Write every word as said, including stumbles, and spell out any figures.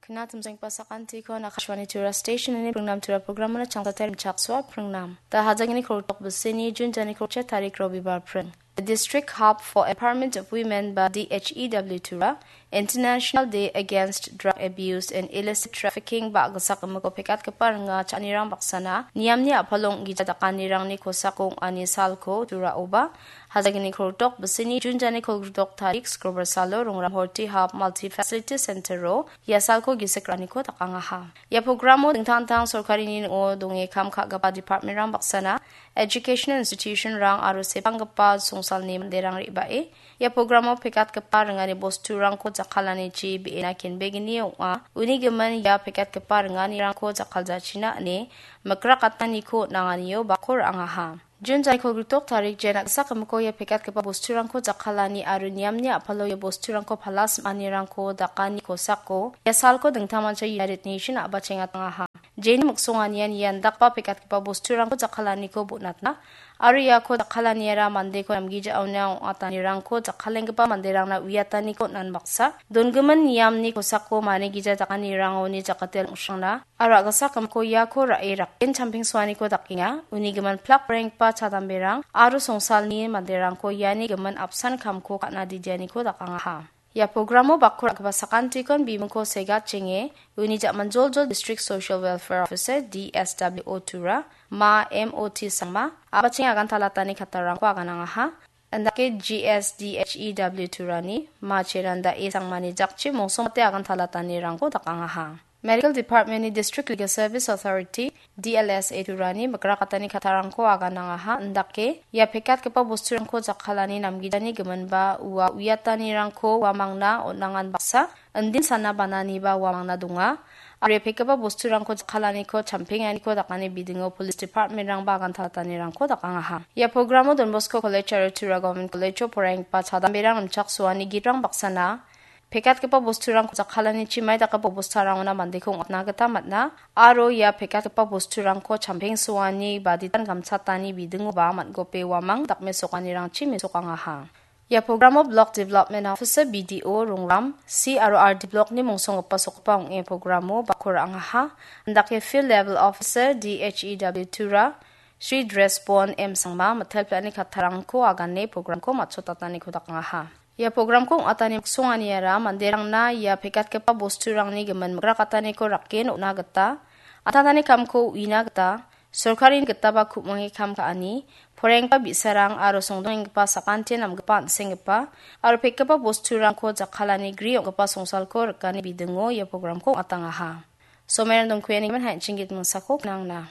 Ina timsengpa sakantiko Akashvani Tura Station ini pringnam Tura programona changsatai rimchaksoa pringnam. Da hajagini koltok bisini Jun jani kolcha tarik Robibar pring. The District Hub for Empowerment of Women ba D H E W Tura, International Day Against Drug Abuse and Illicit Trafficking ba agsak imiko pekatgipa ringa cha·anirang baksana niamni a·palo ong·gija dakanirangni kosako ong·ani salko Turaoba, hajagini koltok bisini Jun jani kolgritok tarik Skrobar salo Rongram Horti Hub Multi Facility Center-o ia salko gisik ra·aniko dakangaha. Ia programo dingtang dingtang sorkarini ning·o donge kam ka·gipa department-rang baksana, education institution-rang aro sepanggipa songsalni manderang re·bae ia programo pekatgipa ringani bosturangko jakkalanichi be·ena kenbegni ong·a. Uni gimin ia pekatgipa ringanirangko jakkaljachina ine mikrakataniko nanganio bako ra·angaha. Jun jani kolgritok tarik jen agsak imiko ia pekatgipa bosturangko jakkalani aro niamni a·palo ia bosturangko pala sim·anirangko dakani kosako ia salko dingtangmancha United Nation a·bachengatangaha. Jeni miksonganian ia indakgipa pekatgipa bosturangko jakkalaniko bonatna aro iako jakkalaniara mandeko namgijaona ong·atanirangko jakkalenggipa manderangna uiataniko on·an baksa, dongimin niamni kosako manigija dakanirangoni jakate ong·srangna aro agsak imiko iako ra·e rakken champengsoaniko dakenga. Uni gimin plak renggipa chadamberang aro songsalni manderangko iani gimin apsan kamko ka·na didianiko dakangaha. Ia programo bako ra·gipa sakantikon bimingko segatjenge uni ja·manjoljol District Social Welfare Officer, D S W O Tura, Ma M O T Sangma, a·bacheng agantalatani kattarangko aganangaha. Indake G S D H E W Turani, Ma Cheranda E Sangmani jakchi mongsongmate agantalatanirangko dakangaha. Medical Department-ni District Legal Service Authority, D L S A Turani mikrakatani kattarangko aganangaha, indake ia pekatgipa bosturangko jakkalani namgijani giminba ua uiatanirangko uamangna on·angan baksa, indin sana bananiba uamangna donga. Aro ia pekgipa bosturangko jakkalaniko champenganiko dakani bidingo Police Department-rangba agantalatanirangko dakangaha. Ia programo Don Bosco College aro Tura Government College-o poraienggipa chadamberang rimchaksoani gitrang baksana pekatgipa bosturangko jakkalanichi mai dakgipa bosturangona mandeko ong·atna gita man·a, aro ia pekatgipa bosturangko champengsoani ba ditan gamchatani bidingoba man·gope uamang dakmesokanirangchi mesokangaha. Ia programo Block Development Officer, B D O, Rongram, C aro R D Block-ni mongsonggipa sokgipa ong·e programo bako ra·angaha. Indake Field Level Officer, D H E W Tura, Shri Dresbon M Sangma, mitel pla·ani kattarangko agane programko matchotataniko dakangaha. Ia programko ong·atani miksonganiara manderangna ia pekatgipa bosturangni gimin mikrakataniko rake on·na gita, an·tangtangni kamko uina gita, sorkarini gitaba ku·mange kam ka·ani, poraienggipa bi·sarang aro songdongenggipa sakantian namgipa an·senggipa aro pekgipa bosturangko jakkalani gri ong·gipa songsalko rikani bidingo ia programko ong·atangaha. Somairang Dongkuianigimin hai an·ching git mingsako knangna.